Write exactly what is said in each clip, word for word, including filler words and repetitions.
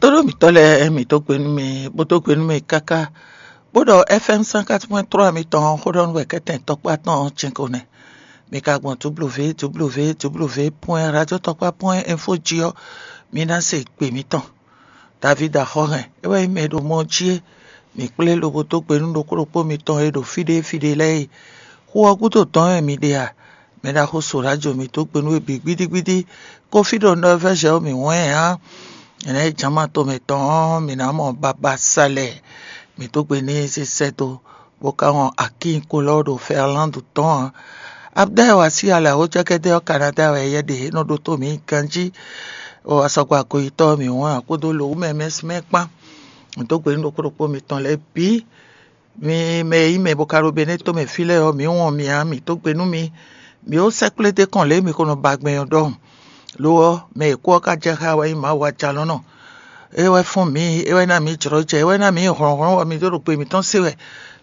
Tóɖó mǐtɔn lɛ́ɛ, mǐ dó gbe nú mi, bó dó gbe nú mi káká, bó ɖɔ F M cent quatre point trois mitɔn xó ɖɔ nú wɛ kɛ́tɛn tɔkpá tɔn ɔ́ cɛ́n ko nɛ́. Mi ka gbɔn www point radio tɔkpá point info jí ɔ́, mi ná se gbe mǐtɔn. David Axɔ́hɛn, é wɛ nyí mɛ e ɖo mɔ jí é. Mǐ kplé lobo dó gbe nú ɖokpó ɖokpó mitɔn e ɖo fí ɖé fí ɖé lɛ́ɛ é. Xu ɔ́ gúdo dɔn wɛ mi ɖe a? Mɛ ɖaxó Solájo mǐ dó gbe nú we bǐ gbídígbídí. Kófí ɖo Nɔvɛ́zɛ ɔ́ mǐ wɛn ǎ. Nyɛ lɛ́ɛ jǎma tomɛ tɔn ɔ́, mǐ ná mɔ babá sa lɛ. Mǐ dó gbe n'i sín sɛ́ dó, bó ka wɔn akín kolɔ́ ɖo Fɛrlándu tɔn ǎ. Abdɛ́ wa sí alɛ awǒjɛ́kɛ́dɛ́ ɔ́ Kanadá wɛ yɛ ɖe é nɔ ɖótó mǐ ganjí. O asɔgba goyitɔ́ mǐ wɛn ǎ kpódó lǒwúmɛ mɛsmɛ kpán. Mǐ dó gbe nú ɖokpó ɖokpó mitɔn lɛ́ɛ bǐ. Mi mɛ e nyí mɛ bo ka ɖo Benɛ́ tomɛ fí lɛ́ɛ ɔ́, mǐ wɔn mi ǎ, mǐ dó gbe nú mi. Mǐ ó sɛ́kplé d'é kɔn lě e mi ko nɔ ba gbɛn ɔ́ ɖɔhun. Lo ɔ́, mɛ e kú ɔ́ ka jɛ xá wɛ nyí Mawu Ajalɔ̌nɔ. É wɛ fɔ́n mǐ, é wɛ ná mǐ jlɔ́ jɛ, é wɛ ná mǐ hlɔ̌nhlɔ́n bɔ mǐ dó ɖo gbe mǐtɔn se wɛ.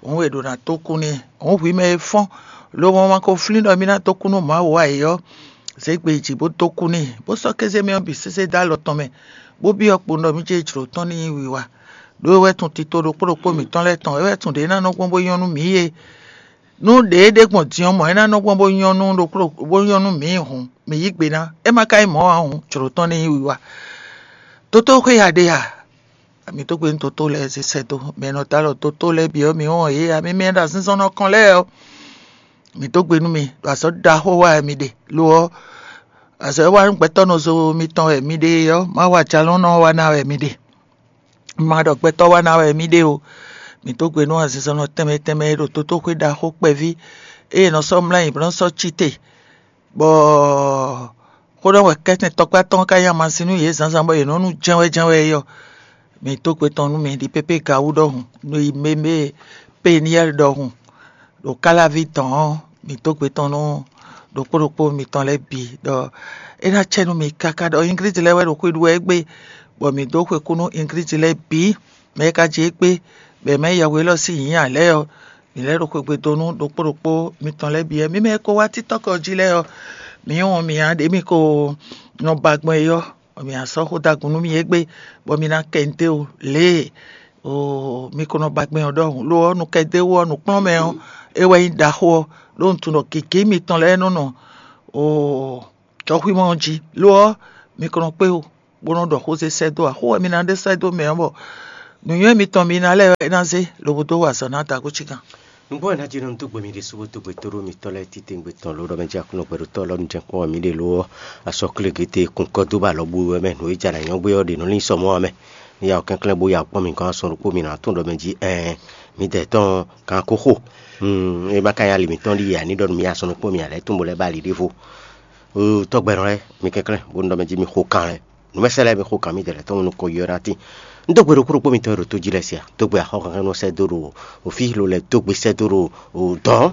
Hǔn è ɖǒ ná dó kú n'i. Hǔn hwi mɛ e fɔ́n, lobo ma ko flín ɖɔ mí ná dó kú nú Mawu ǎ é ɔ́, zě gbe yi jǐ bó dó kú n'i, bó sɔ́ kéze mɛ ɔ́ bǐ sésé dó alɔ tɔn mɛ, bó byɔ́ kpo ɖɔ mí ce jlǒ tɔn ní nyí wiwa. Ɖó é wɛ tun tito ɖokpó ɖokpó mǐtɔn lɛ́ɛ tɔn, é wɛ tun ɖě ná nɔ gbɔn bó nyɔ́ nú mǐ é. Nú ɖě e ɖe gbɔn din ɔ́ mɔ̌ é ná nɔ gbɔn bó nyɔ́ nú ɖokpó bó nyɔ́ nú mǐ hǔn, mǐ yí gbe ná. É ma ka nyí mɔ̌ ǎ hǔn, jlǒ tɔn ní nyí wiwa. Tótóxwé ya ɖe a? Mǐ dó gbe nú dotó lɛ́ɛ zé sɛ́ dó. Mɛ e nɔ dó alɔ dotó lɛ́ɛ bǐ ɔ́, mǐ wɔn yě ǎ. Mí mɛ e ɖo azinzɔnnɔ kɔn lɛ́ɛ ɔ́, mǐ dó gbe nú mi, ɖo azɔ̌ ɖaxó wa wɛ mi ɖe. Lo ɔ́, azɔ̌ e wa nú gbɛtɔ́ nɔzo mitɔn wɛ mi ɖe é ɔ́, Mawu Ajalɔ̌nɔ ɔ́ wa ná wɛ mi ɖe. Ma ɖɔ gbɛtɔ́ wa ná wɛ mi ɖe o. Mǐ dó gbe nú azinzɔnnɔ tɛnmɛ tɛnmɛ e ɖo dotó xwé ɖaxó kpɛví, ée è nɔ sɔ́ mlá nyi bó nɔ́ sɔ́ cí te, bɔ xó ɖɔ wɛ kɛ́tɛn tɔkpá tɔn ka nyi amasin nú yě zǎnzǎn bɔ yě nɔ nu jɛ́nwɛ jɛ́nwɛ é ɔ́, mǐ dó gbe tɔn nú mi ɖi pépé gawú ɖɔhun, nú yi mɛ e Peniyɛ́li ɖɔhun ɖo Kálaví dɔ̌n ɔ́, mǐ dó gbe tɔn nú ɖokpó ɖokpó mitɔn lɛ́ɛ bǐ ɖɔ é ná cɛ nú mi káká ɖɔ Ingrid lɛ́ɛ wɛ ɖo xwe ɖu wɛ égbé, bɔ mǐ dó xwe kú nú Ingrid lɛ́ɛ bǐ, mɛ e ka ji égbé, bɔ è mɛ yɛhwe élɔ́ sín nyǐ ǎ lɛ́ɛ ɔ́, mǐ lɛ́ ɖo xwegbe dó nú ɖokpó ɖokpó mitɔn lɛ́ɛ bǐ wɛ. Mǐ mɛ e ko wá títɔ́ kɔ jí lɛ́ɛ ɔ́, mǐ wɔn mǐ ǎ ɖě mǐ ko nɔ ba gbɔn é ɔ́, bɔ mǐ ná sɔ́ xó ɖagǔn nú mi égbé, bɔ mi ná kɛ nu dó lě e oo mi ko nɔ ba gbɛn ɔ́ ɖɔhun. Lo ɔ́, nukɛndéwú ɔ́, nǔkplɔ́nmɛ ɔ́, é wɛ nyí ɖaxó ɔ́, ɖó un tunwun ɖɔ gěgé mitɔn lɛ́ɛ nɔ nɔ oo jɔxwímɔ ɔ́ jí. Lo ɔ́, mi ko nɔ kpé o, bó nɔ́ ɖɔ xó zé sɛ́ dó ǎ. Xó wɛ mi ná ɖe sɛ́ dó mɛ ɔ́, bɔ nǔnywɛ́ mitɔn mi ná lɛ́ɛ é ná zé, lobo dó wa azɔ̌ ná da gǒ cígan. Nǔgbó ɔ́ ná jí nɔ dó gbe mi ɖésú bó dó gbe tóɖó mitɔ́ lɛ́ɛ titewungbe tɔn ló ɖɔ mɛ jí Aklúnɔ gbɛɖotɔ́ lɔ́ nu jɛ́n kpɔ́n wɛ mǐ ɖe lo ɔ́, asɔ́ klégété kunkɔ́ dó ba lɔ bú wɛ mɛ, nǔ e jɛ nǎ nyɔ́ gbé ɔ́ ɖe nɔ lín sɔ mɔ̌ ɔ́ mɛ. Ní ya ɔ́ kɛnklɛ́n bó ya kpɔ́n mi gɔ́n asɔ́ ɖokpó mi nǎ tún ɖɔ mɛ jí ɛɛn, midɛɛ tɔn kan ko xo. Hmm, é ma ka nyí ali mǐtɔn ɖíe ǎ ní ɖɔ nú mi asɔ́ ɖokpó mi ǎ lɛ́ tún bo lɛ́ ba ali ɖěvo. Oo, tɔ́gbɛ́nɔ lɛ́ɛ, mi kɛnklɛ́n bó nú ɖɔ mɛ jí mi xo kan lɛ́ɛ. Nǔmɛsɛ́ lɛ́ɛ mi xo kan mì dɛ̌ lɛ́ɛ tɔn nukɔn yɔ́ ná tín. Un dó gbe ɖokpó ɖokpó mitɔn e ɖo tó jí lɛ́ɛ se a? Dó gbe axɔ́kankan nɔ sɛ́ dó ɖo òfí lo lɛ́ɛ dó gbe sɛ́ dó ɖo dɔ̌n.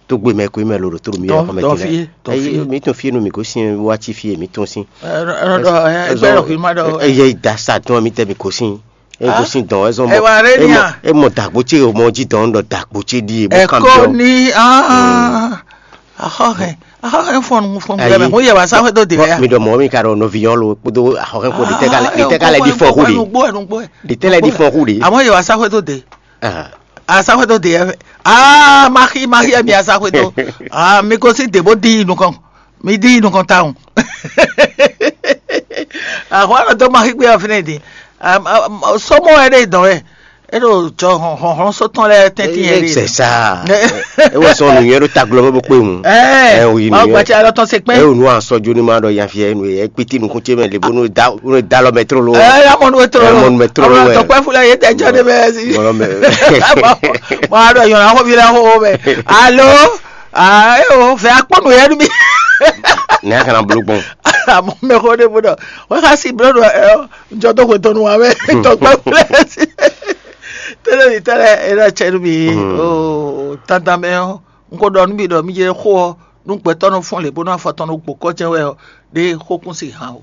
Dó gbe mɛ ko mɛ lo ɖo tó ɖo mì yɔ́ xɔmɛ dɔn fie dɔn fie. Mi tún fie nú mi gosín wá cí fie mi tún sín. Ɛgbẹ́ lɔ fi ma ɖɔ. Eye da sa tún mi tɛ mi gosín. E gosín dɔn wɛ zɔn mɔ. Ẹ wà rẹ ni a? E mɔ dàgbò tse o mɔ jí dɔn ɖɔ dàgbò tse ɖi e bó kan mi. Ẹkọ ni. Ahọ́hẹ́, ahọ́hẹ́ fɔnù fɔnù gbẹmẹ kó yẹ wá sáfẹ́ tó dé rẹ. Mi ɖɔ mɔ mi ka ɖɔ nɔvi yɔn lo kpódó ahọ́hẹ́ kpó ɖi tɛ ka lɛ ɖi fɔ hu ɖi. Nugbo ɛ nugbo ɛ. Ɖi tɛ lɛ ɖi fɔ hu ɖi. Àmọ́ yẹ wá sáfẹ́ tó dé. Àsáfẹ́ tó dé ɛ. Aa maxi maxi ɛ mi àsáfẹ́ tó. Aa mi ko sí dèbó dí inú kan. Mi dí inú kan táwọn. Àwọn àrùn tó máa gbé ọ̀fìn ẹ̀ dín. Sọmọ ẹ lè dán ẹ. E ɖo jɔ hlɔnhlɔn sɔtɔn lɛ tɛntin yɛ de. C'est ça. E wɔ sɔn nuyɛ ɖo taglɔ bɛ bɔ kpe mu. Ɛ o yi nuyɛ. Awo gbati alɔ tɔn se kpɛ. E o nu asɔ jo ni ma ɖɔ yan fiɛ nu yɛ kpiti nukun ce mɛ le bo nu da nu da lɔ mɛ trolo. Ɛ ya mɔnu mɛ trolo. Mɔnu mɛ trolo wɛ. Tɔkpɛ fula ye tɛ jɔ de bɛ si. Mɔnu mɛ. Mɔ a ɖɔ yɔn na xɔ fi la xɔ mɛ. Alo. Aa e o fɛ akpɔ nu yɛ nu mi. Ne a kana bolo gbɔn. Amɔ mɛ xɔ de bo dɔ. Wɛ xa si blo dɔ ɛ. Njɔ dó xwe tɔnu wa mɛ tɔgbɛ wlɛ si. Tɛlɛ ni tɛlɛ e na cɛ nu mi o tanta mɛ ɔ n ko dɔ nu mi dɔ mi je xo ɔ nu gbɛtɔ nu fɔn le bonu afɔ tɔn nu gbokɔ jɛ wɛ ɔ de xo kun si han o.